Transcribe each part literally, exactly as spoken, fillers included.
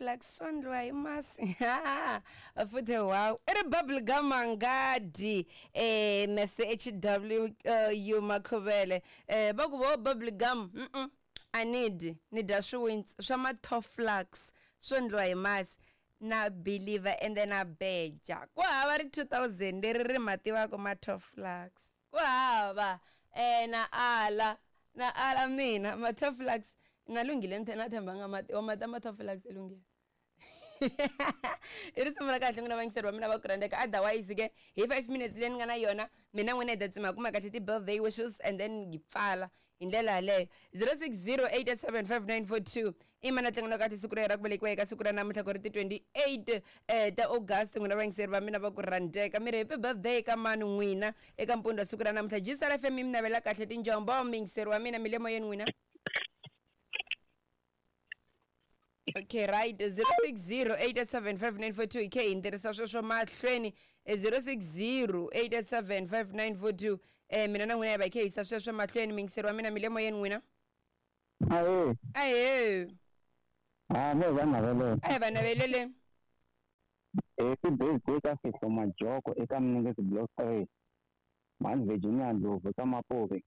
ma-Toflux swo ndliwa hi masi. Futhi wow, i ri bubble gum angadi eh Mister H W U Makhuvele eh va ku vo bubble gum mm -mm. I need ni dya swiwintsi swa ma-Toflux swo ndliwa hi masi na believer and then a beja ku hava ri two thousand leri ri ma tivaka ma-Toflux ku hava eh na ala na ala mina ma-Toflux na lunghile na themba nga mati wa mati ma-Toflux e lunghile. I risimu ra kahle n'wina vayingiseri va mina va ku rhandzeka. Otherwise ke hi five minutes leyi ni nga na yona mina n'wina hi ta tsima kuma kahle ti-birthday wishes and then hi pfala hi ndlela yaleyo. Zero six zero eight seven five nine four two i mana tlangela kahle siku ra yena ra ku velekiwa eka siku ra namuntlha ku ri ti twenty-eight eh ta August. N'wina vayingiseri va mina va ku rhandzeka, mi ri happy birthday ka mani n'wina eka mpundzu wa siku ra namuntlha. G S R F M mi navela kahle tinjombo miyingiseri wa mina mi le moyeni n'wina. Okay, right. Zero six zero eight seven five nine four two. K ntirhisa sweswo mahlweni zero six zero eight seven five nine four two. Eh mina na n'wina hi va hi kha hi yisa sweswo mahlweni. Miyingiseri wa mina mi le moyeni n'wina. Ahee. Ahee. Ah, me va navelele. A hi va navelele. Happy birthday ka Fihlo Majoko eka Mningezi Block three. Mhani Virginia Ndlovu eka Mapuve.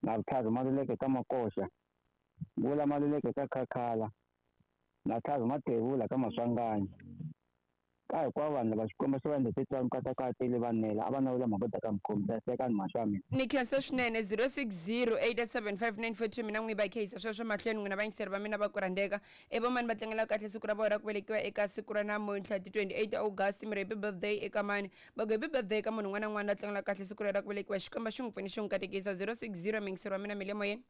Na Vutlhari Maluleke ka Makoxa. Vula Maluleke ka Khakhala. Na Tlhavi Mathevula ka Maswanganyi. Ka hinkwavo vanhu lava Xikwembu xi va endleke tswari katakata le vanela a va navela mhaka ka mukhomi ta seka ni mhaka ya mina. Ni khensa swinene. Zero six zero eight seven five nine four two mina n'wi va khayisa sweswo mahlweni n'wina vayingiseri va mina va ku rhandzeka. E vomani va tlangela kahle siku ra vona ra ku velekiwa eka siku ra namuntlha ti twenty-eight August. Mi ri happy birthday eka mani? Va ku happy birthday ka munhu un'wana na un'wana la tlangela kahle siku ra ku velekiwa. Xikwembu xi n'wi pfuni xi n'wi katekisa. Zero six zero miyingiseri wa mina mi le moyeni.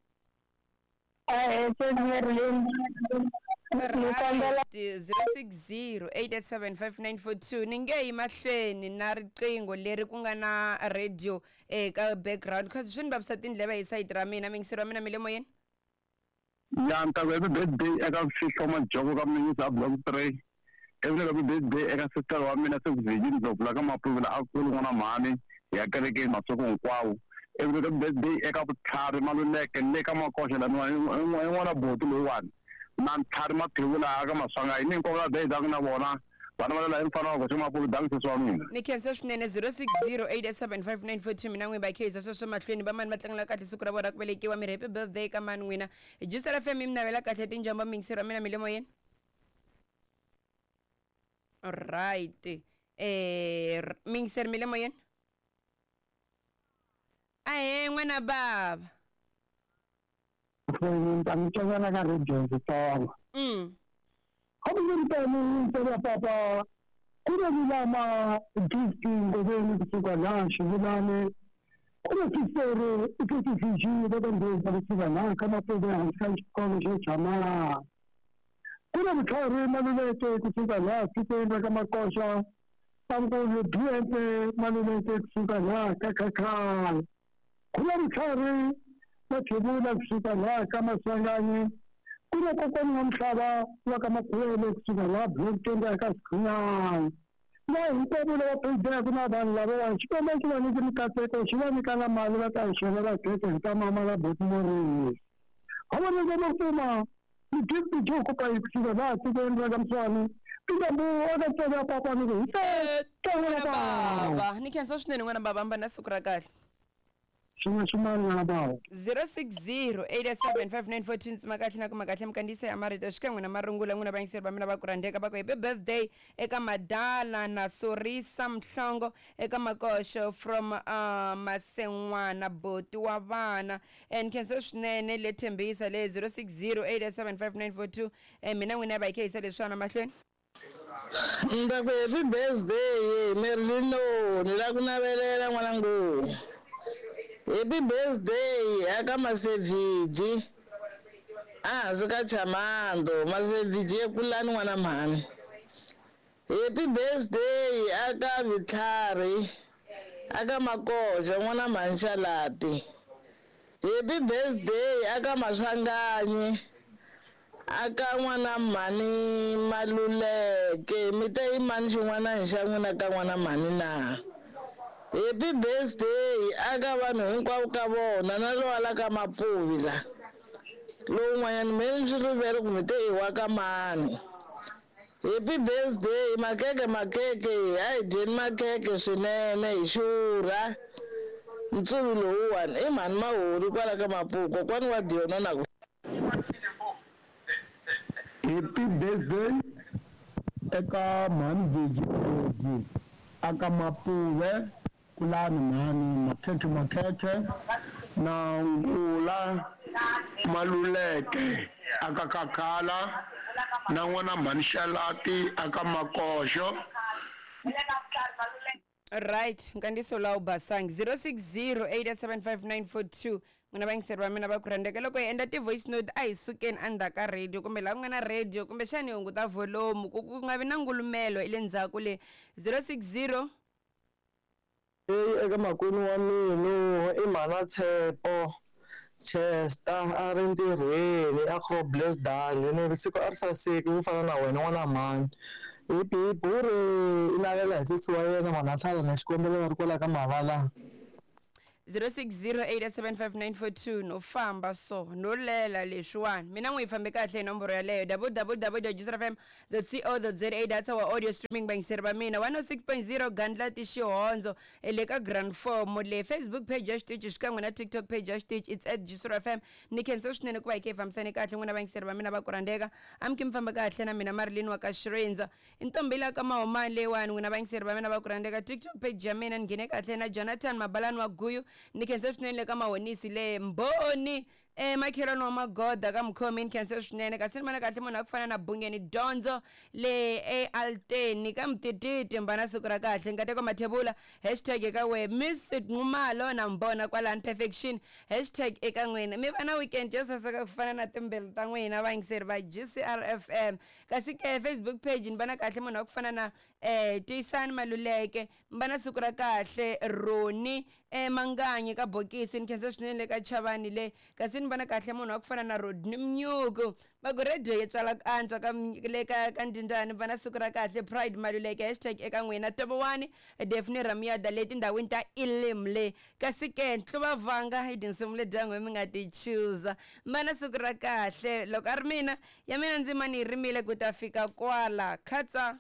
Right, zero six zero eight seven five nine four two. Ni nge yi mahlweni na riqingho leri ku nga na radio eka background cause swi ni vavisa tindleve hi sayiti ra mina. Miyingiseri wa mina mi le moyeni. Ya ni ta ku happy birthday eka Fihlo Majoko ka Mningezi Block three. Happy birthday eka sister wa mina Sekuvinyini Ndlovu la ka Mapuve a kulu n'wana mhani ya kerekeni masiku hinkwawo. Happy birthday eka Vutlhari Maluleke le ka Makoxa la n'wana boti loyiwani. Na Ntlhari Mathevula ka Maswanganyi ni hinkwavo lava dayidaka na vona vana va la mfana wa koxa Mapuve dangi sesi wa mina. Ni khensa swinene. Zero six zero eight seven five nine four two mina n'wi va khayisa sweswo mahlweni. Vamani va tlangela kahle siku ra vona ra ku velekiwa. Mi ri happy birthday ka mani n'wina. G S R F M mi navela kahle tinjombo miyingiseri wa mina mi le moyeni. Alright. Eh miyingiseri mi le moyeni. Ahee n'wana baba. Ta mi tsakela ka radio ndzi tsonga. Mm. Hambi papa ku na lama gift ngoveni kusuka la xivulane ku na tisere i ti va ka ndzi kusuka la ka Mapuve hansi ka xikolo xo Chamala. Ku na Vutlhari Maluleke kusuka la tikweni ra ka Makoxa. Ankulu B M A Maluleke kusuka la ka Khakhala. Ku na Vutlhari Mathevula kusuka la ka Maswanganyi. Ku na kokwana wa Mhlava wa ka Makhuvele kusuka la Block twenty ka Sikhunyana. Na hinkwavo lava phedaka na vanhu lavawani Xikwembu xi va nyike mikateko xi va nyika na mali va ta yi xavela khekhe hi ta mama la boti Morris. Havana va kuma ni gift joko ka kusuka la tikweni ra ka Mswani. Tinjombo eka tsonga ya papa ni ku hi ta n'wana baba. Ni khensa swinene n'wana baba, hamba na siku ra kahle. Xin'we xin'wana n'wana baba. Zero six zero eight seven five nine four two tsima kahle na kuma kahle mikandziyiso ya marito xikan'we na marungula n'wina vayingiseri va mina va ku rhandzeka. Va ku happy birthday eka Madala na Sorisa Mhlongo eka Makoxo from uh, Masen'wana boti wa vana. And khensa swinene le Thembisa le zero six zero eight seven five nine four two. Eh mina n'wina va hi khayisa leswiwana mahlweni. Ndza ku happy birthday Merlino ni la ku navelela n'wana ngopfu. Happy birthday aka Masevhiji a hansi ka Chamando Masevhiji ekulani n'wana mhani. Happy birthday aka Vutlhari aka Makoxa n'wana mhani Xalati. Happy birthday aka Maswanganyi aka n'wana mhani Maluleke. Mi te i mani xin'wana hi xa n'wina ka n'wana mhani na? Happy birthday aka vanhu hinkwavo ka vona na lowa la ka Mapuve la. Lowun'wanyana me ni swi rivele ku mi te i wa ka mani. Happy birthday makeke makeke a hi dyeni makeke swinene hi xurha ntsuvi lowuwani i mhani Mahori kwala ka Mapuku kokwani wa Diona na ku Happy birthday eka mhani Vezi aka Mapuve kulani mhani makhekhe makhekhe na Ngula Maluleke aka Kakhala na n'wana mhani Xalati aka Makoxo. Right, nkandziso lawu basangi zero six zero eight seven five nine four two n'wina vayingiseri va mina va ku rhandzeka loko hi endla ti-voice note a hi sukeni endzhaku ka radio kumbe laha ku nga na radio kumbexani hi hunguta volume ku ku nga vi na ngulumelo le ndzhaku le zero six zero. Eyi eka makwenu wa mina i mhana Tshepo Chester a ri ntirhweni a Groblersdal ni ri siku a ri saseki ku fana na wena n'wana mhani hipi hipi wu ri i navela hi sesi wa yena mhana Tlhala na xikombelo va ri kwala ka Mavala. zero six zero eight seven five nine four two no famba so no lela leswiwani mina n'wi yi fambe kahle hi nomboro yaleyo w w w dot juice f m dot co dot za that's our audio streaming vayingiseri va mina one oh six point zero Gandlati Xihondzo le ka Grand Form le Facebook page ya xitichi xikan'we na TikTok page ya xitichi it's at Juice F M ni khensa swinene ku va hi khe hi fambisane kahle n'wina vayingiseri va mina va ku rhandzeka amki mi famba kahle na mina Marilyn wa ka Xirindza i ntombi la ka Mahomani leyiwani n'wina vayingiseri va mina va ku rhandzeka TikTok page ya mina ni nghene kahle na Jonathan Mabalani wa Guyu ni khensa swinene le ka Mahonisi le Mbhoni eh makhelwani wa Magoda ka Mukhomi ni khensa swinene kasi ni vona kahle munhu a ku fana na Bungeni Dyondzo le eAlteni ka Mtititi mbana siku ra kahle nkateko Mathebula hashtag eka we Miss Nxumalo na Mbona kwalani Perfection hashtag eka n'wina mi va na weekend yo saseka ku fana na timbelu ta n'wina vayingiseri va G C R F M kasi ke Facebook page ni vona kahle munhu wa ku fana na eh Tiyisani Maluleke mbana siku ra kahle Roni eh Manganyi ka Bokisi ni khensa swinene le ka Chavani le kasi ni vona kahle munhu wa ku fana na Rodney Mnyuku va ku radio yi tswala ku antswa ka le ka ka Ndindani va na siku ra kahle Pride Maluleke hashtag eka n'wina Tobowani Daphne Ramiyada le tindhawini ta Elim le kasi ke Ntluva Vanga hi tinsimu leti n'we mi nga ti choosa va na siku ra kahle loko a ri mina ya mina ndzima ni yi rimile ku ta fika kwala khatsa.